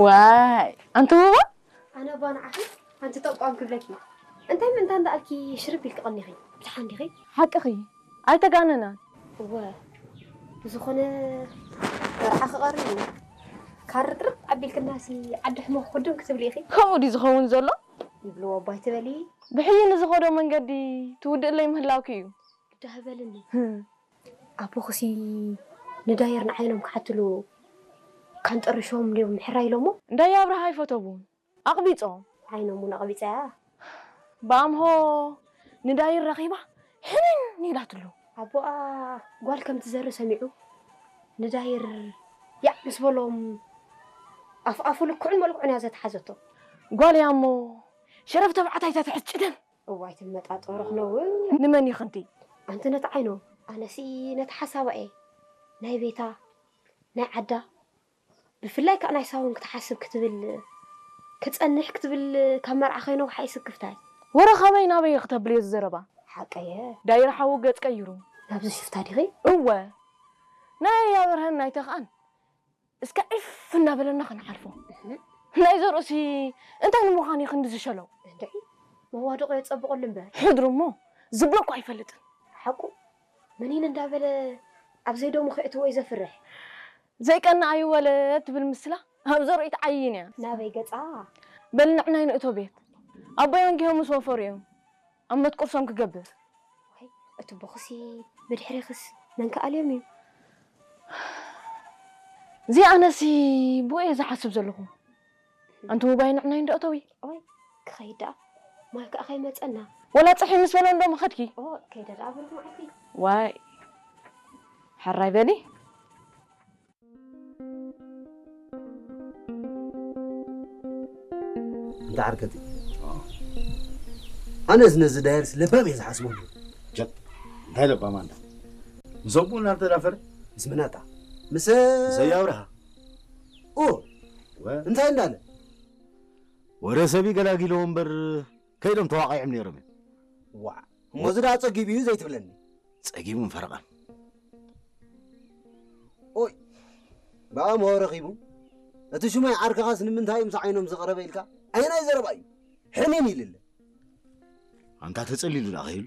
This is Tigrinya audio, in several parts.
ዋይ ኣንቲ ውባ ኣነ እባ ንዓኺ ሓንቲ ጠቋም ክብለኪ። እንታይ ምእንታ እንዳኣልኪ ሽርብ ኢልኪ ቀኒኺ? ብድሓን ዲኺ? ሓቅኺ ኣይተጋነናን። እወ ብዝኾነ መርዓ ክቐርብ እዩ። ካርጥርጥ ኣቢልክናሲ ዓዲ ሕሞ ክኽድም ክትብሊ ኢኺ። ከምኡ ድዩ ዝኸውን ዘሎ? ይብልዎ እባ ኣይትበሊ። ብሕይኒ ዝኸዶ መንገዲ ትውድእለይ ምህላውኪ እዩ። ግዳ ህበልኒ። ኣቦኽሲ ንዳየር ንዓይኖም ክሓትሉ ካንጠርሾም ድዮም ምሕራይ ኢሎሞ? እንዳየ ኣብርሃ ኣይፈተቡን ኣቕቢጾም። ዓይኖም እውን ኣቕቢጻያ። ብኣምሆ ንዳይር ረኺባ ሕንን ኢላትሉ። ኣቦኣ ጓል ከም ትዘሪ ሰሚዑ ንዳይር ያዕ ምስ በሎም ኣፍኣፉ ልክዑን መልክዑን እያ ዘትሓዘቶ። ጓል እያ እሞ ሸረፍ ተባዕታይ እታ ትሕዝ ጭደን። እዋይ ትመጣጠሩ ክነውን። ንመን ይኽንቲ? ኣንቲ ነቲ ዓይኖ ኣነሲ ነቲ ሓሳባ እየ ናይ ቤታ ናይ ዓዳ ብፍላይ ከኣ ናይ ሳውን ክትሓስብ ክትብል ክጸንሕ ክትብል ካብ መርዓ ከይነውሓ ይስክፍታይ። ወረ ካበይ ናበይ ክተብልዮ ዝዘረባ? ሓቀየ። ዳይር ሓዉ ገጽ ቀይሩ። ናብዚ ሽፍታ ዲኺ? እወ ናይ ኣብርሃን ናይ ተኽኣን እስከ ዒፍ እናበለና ክንሓልፎ። ናይ ዘርእሲ እንታይ ንምዃን እዩ ክንዲ ዝሸለው? እንድዒ መዋድቑ የጸብቐሉ እምበር። ሕድሩ እሞ ዝብሎ እኮ ኣይፈልጥን። ሓቁ ምኒን እንዳበለ ኣብ ዘይደሙ ከእትዎ እዩ ዘፍርሕ። ዘይቀና ኣይወለድ ትብል ምስላ ኣብ ዘርእቲ ዓይን እያ። ናበይ ገጻ? በል ንዕናይ ንእቶ ቤት ኣቦይ ኣንጊሆ ምስ ወፈሩ እዮም ኣብ መትቁርሶም ክገብር። ዋይ እቲ ቦኽሲ ብድሕሪኽስ መን ክኣልዮም እዩ? እዚ ኣነሲ ብኡ እየ ዝሓስብ ዘለኹ። ኣንቲ ውባይ ንዕናይ እንዶ እተዊ። ኦይ ክኸይድ ደኣ ማይ ከኣ ከይመጸና። ወላ ጽሒ ምስ በሎ እንዶ ምኸድኪ። ኦ ከይደ ደኣ ብሩኽ መዓልቲ። ዋይ ሕራይ በሊ። እንተ ዓርከቲ ኣነስ ነዚ ዳየርስ ለባም እየ ዝሓስበሉ። ጀት እንታይ ለባም ኣንታ ምስ ኣቦኡ እናተዳፈረ ምስ ምናጣ ምስ ሰይ ኣብርሃ ኡ እንታይ እንዳለ ወረ ሰብ ይገላጊልዎ እምበር ከይዶም ተዋቒዖም ነይሮም እዮም። ዋዕ እሞ እዚ ደኣ ጸጊቡ እዩ ዘይትብለኒ። ጸጊቡን ፈረቓን። ኦይ ብኣምሆ ረኺቡ እቲ ሽማይ ዓርክኻስ ንምንታይ እዩ ምስ ዓይኖም ዝቐረበ ኢልካ ኣየናይ ዘረባ እዩ ሕኒን ኢልለ ኣንታ ተጸሊሉ ደኣ ከይሉ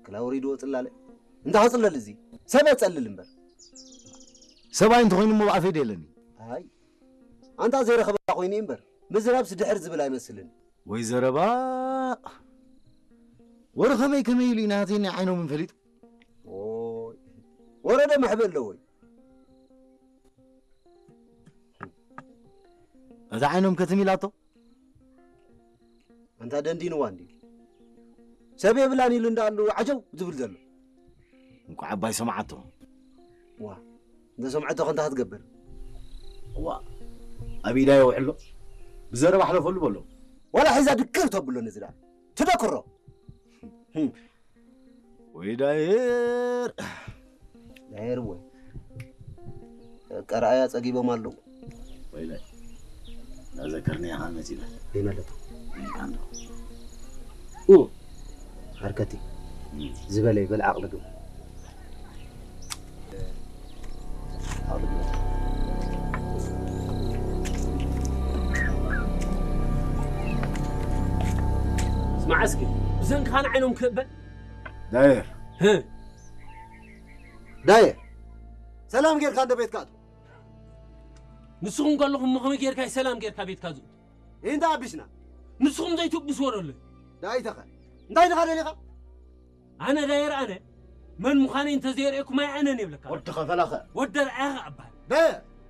ክላውሪድዎ ጽላለ እንታይ ክጽለል እዚ ሰብ የጸልል እምበር ሰብኣይ እንተኾይኑ እሞ ብኣፈይ ደየለኒ ኣይ ኣንታ ዘይረኸበ ኮይኑ እዩ እምበር ምዝራብስ ድሕር ዝብል ኣይመስልን ወይ ዘረባ ወረ ከመይ ከመይ ኢሉ እዩ ናተይ ናይ ዓይኖምን ፈሊጡ ወረደ መሕበ ኣለዎ እዩ እዛ ዓይኖም ከትም ኢላቶ ኣንታ ደንዲንዋ እንዲ ሰብ የብላን ኢሉ እንዳኣሉ ዓጀው ዝብል ዘሎ እንኳዕ ኣባይ ሰማዓቶ ዋ እንተ ሰምዐቶ ከንታ ክትገብር ዋ ኣብ ኢዳ የውዕሎ ብዘረባ ሕለፈሉ በሎ ዋላ ሒዛ ድክር ተብሎ ነዚ ደኣ ትደክሮ ወይ ዳየር ዳየር ወይ ቀረኣያ ጸጊቦም ኣለዉ ወይለ ናዘከርኒ ያኻ መጺና ይመለቱ ይካንዶ ኡ ሃርከቲ ዝበለ ይበል ዓቕሊ ግብ ስማዕ እስኪ ብሰንክኻ ንዓይኖም ክእበ ዳየር ዳየ ሰላም ጌርካ እንደ ቤትካ ኣቱ ንስኹም ከለኹም እሞ ከመይ ጌርካ ሰላም ጌርካ ቤትካ ዝእቱ ይህንታ ኣቢስና ንስኹም ዘይትብስዎ ደሎ ዳይተኸ እንታይ ድኻ ደሊኻ ኣነ ዳየር ኣነ መን ምዃነይ እንተዘየርእየኩም ኣይ ኣነን የብለካ ወዲ ኸፈላኸ ወደ ርኣያ ከኣ እበሃል ዳየ